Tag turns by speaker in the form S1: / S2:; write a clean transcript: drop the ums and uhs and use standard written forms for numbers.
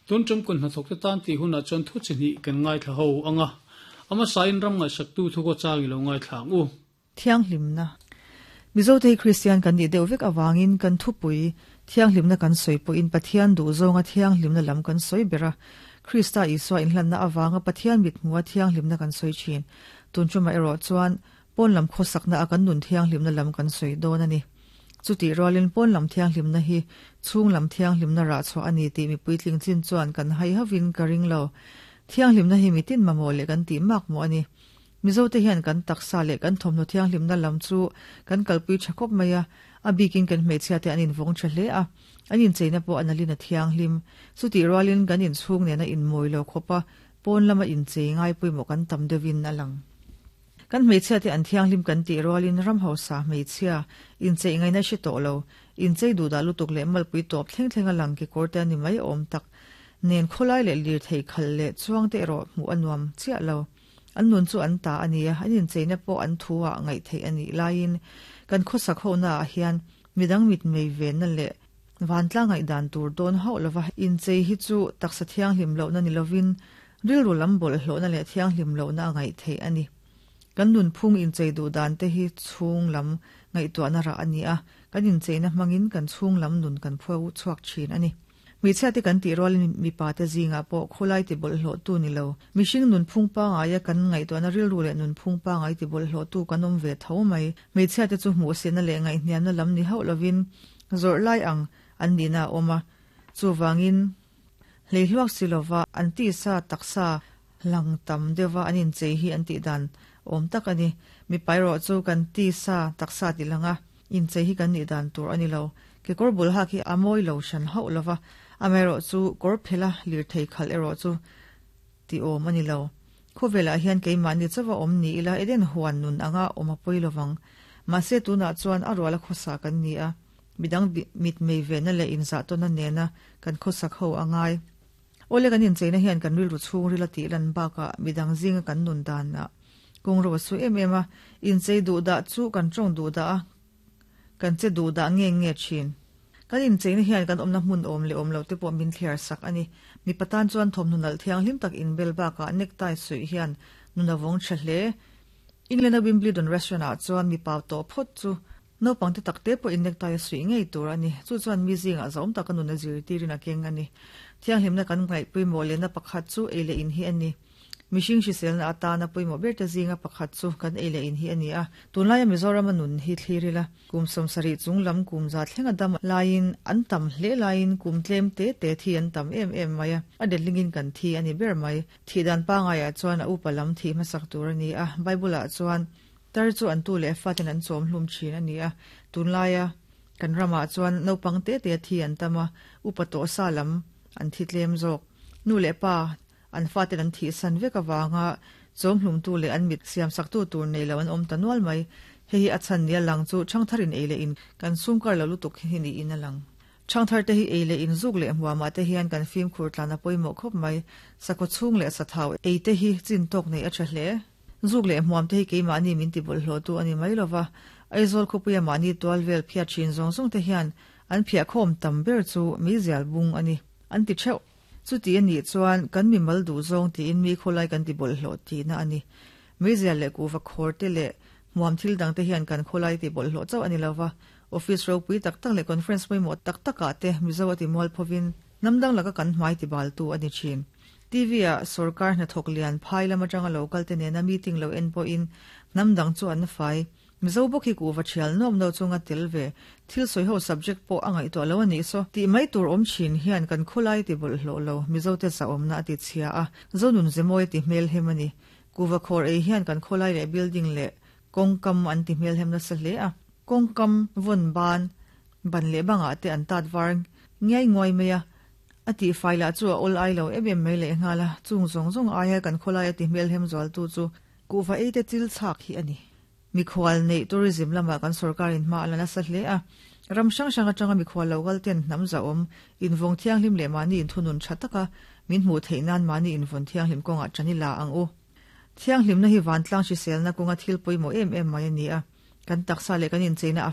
S1: Tun tum kun hnathawkte tan tih hunah chuan thu chi hnih kan ngaithla ho ang a, a hmasain ram ngaihsaktu thu kaw chang i lo ngaithla ang u.
S2: Thianghlimna. Mizote hi Kristian kan nih deuh vek avangin kan thupui thianghlimna kan sawi pawhin Pathian duhzawnga thianghlimna lam kan sawi ber a, Krista Isua inhlanna avanga Pathian mithmuha thianghlimna kan sawi thin. Tun tumah erawh chuan Pawn lam khawsakna a kan nun thianghlimna lam kan sawi dawn a ni. Chutih rualin pawn lam thianghlimna hi chhung lam thianghlimna rah chhuah a ni tih mipui tling chin chuan kan hai hauhin ka ring lo. Thianghlimna hi mitin mamawh leh kan tih mak mawh a ni. Mizote hian kan taksa leh kan thawmhnaw thianghlimna lam chu kan kalpui tha khawp mai a, a bikin kan hmeichhiate an invawng tha hle a, an incheina pawh a nalin a thianghlim. Chutih rualin kan inchhung nena inmawi lo khawpa pawn lama inchei ngai pawimawh kan tam deuhin a lang. Kan hmeichhiate an thianghlim kan tih rualin ram hausa hmeichhia incheih ngaihna hre tawh lo, inchei duhdah lutuk leh malpui tawp thleng thleng a lang kekawr te a ni mai awm tak nen khawlai leh lirthei khalh leh chuang te erawh hmuh a nuam chiah lo. An nun chu an ta a nia, an incheina pawh an thu ah ngaih theih a nih laiin kan khawsak ho naah hian midang mitmei venna leh vantlang ngaihdan tur dawn hauh lova inchei hi chu taksa thianghlim lohna ni lovin Rilru lam bawlhhlawhna leh thianghlim lohna a ngaih theih a ni. Kan nunphung inchei duh dan te hi chhung lam ngaihtuahna rah a ni a, kan incheina hmangin kan chhung lam nun kan phuau chhuak thin a ni. Hmeichhia te kan tih rualin mipa te zingah pawh khawlai ti bawlhhlawhtu ni lo, mihring nunphung pangaia kan ngaihtuahna rilru leh nunphung pangai ti bawlhhlawhtu kan awm ve tho mai. Hmeichhia te chu hmuhsihna leh ngaihhniamna lam ni hauh lovin zawrh lai ang an nihna a awm a, chuvangin, Hleihluak si lova an tisa taksa lang tam deuhva an inchei hi an tih dan awm tak a ni. Mipa erawh chu kan tisa taksa tih langa inchei hi kan nih dan tur a ni lo. Kekawr bul hak hi a mawi lo hran hauh lova, amaherawh chu kawr phela lirthei khalh erawh chu tih awm a ni lo. Khawvelah hian keimahni chauha awm ni ila Eden huan nun anga awm a pawi lovang. Mahse tunah chuan a ruala khawsa kan ni a. Midang mitmei vehna leh inzahtawnna nena kan khawsak ho a ngai. Awle kan incheina hian kan rilru chhungril a tih lan bakah midang zinga kan nun danah kawngro a su em em a, inchei duh dah chu kan tawng duh dah a, kan che duh dah nge nge thin. Kan incheina hian kan awmna hmun awm leh awm lo te pawh min thliar sak a ni. Mipa tan chuan thawmhnaw nalh thianghlim tak inbel bakah necktie suih hian nun a vawng tha hle. England-a Wimbledon restaurant-ah chuan mipa tawh phawt chu Naupang te tak te pawhin necktie a suih ngei tur a ni. Chu chuan mi zingah zawm taka nun a zirtirin a keng a ni. Thianghlimna kan ngaih pawimawh lehna pakhat chu ei leh in hi a ni. Mihring hriselna atana pawimawh ber te zinga pakhat chu kan ei leh in hi a ni a. Tunlaia Mizorama nun hi thlir ila, kum 70 chung lam kum za thlenga dam laiin an tam hle laiin kum tlem te te thi an tam em em mai a, a detlingin kan thi a ni ber mai. Thih dan pangaiah chuan a upa lam thih hmasak tur a ni a, Bible-ah chuan Tar chu an tu leh faten an chawm hlum thin a ni a, tunlaia kan ramah chuan naupang te te thi an tam a, upa tawh sa lam an thi tlem zawk. Nu leh pa an faten an thihsan vek avanga chawm hlumtu leh an mit siamsaktu tur nei lo an awm ta nual mai. Hei hi a chhan nia lang chu ṭhangtharin ei leh in kan sumkar lo lutuk hi niin a lang. Ṭhangthar te hi ei leh in zuk leh hmuamah te hian kan fimkhur tlan a pawimawh khawp mai. Sakhaw chhung leh sathau ei te hi chin tawk neih a ṭha hle. Zuk leh hmuam te hi keimahni min ti bawlhhlawhtu a ni mai lova, Aizawl khawpuia mahni tual vel phiat thin zawng zawng te hian an phiahkhawm tam ber chu meizial bung a ni, an ti theuh. Chuti a nih chuan kan mimal duh zawng tiin mi khawlai kan ti bawlhhlawh tihna a ni. Meizial leh kuhva khawr te leh hmuam thil dang te hian kan khawlai ti bawlhhlawh chauh a ni lova, office ropui tak tak leh conference pawimawh tak takah te Mizo a ti mualphovin hnam dang laka kan hmai ti baltu a ni thin. TV ah sorkar hnathawk lian phai lam atanga lo kal te nena meeting lo en pawhin hnam dang chu an fai. Mizo bawk hi kuhva thial nuam no chunga tel ve thil sawi ho subject pawh a ngaihtuah lo a nih saw. Tih mai tur awm thin hian kan khawlai ti bawlhhlawh lo Mizo te zahawmna a ti chhia a, Zonun Zemawi a ti hmelhem a ni. Kuhva khawr ei hian kan khawlai leh building leh kawngkam an ti hmelhem nasa hle a. Kawngkam vawn ban ban leh bangah te an tat var ngiai nguai mai a. A tih fai lah chu a awl ai lo em em mai leh nghal a, chung zawng zawng aia kan khawlai a ti hmelhem zualtu chu kuhva ei te chil chhak hi a ni. Mikhual neih tourism lamah kan sorkarin hma a la nasa hle a, ram hrang hrang atanga mikhual lo kal ten hnam zahawm, invawng thianghlim leh mahni inthunun tha taka min hmuh theih nan mahni invawn thianghlim kawngah tan i la ang u. Thianghlimna hi vantlang hriselna kawnga thil pawimawh em em mai a ni a, kan taksa leh kan incheina a.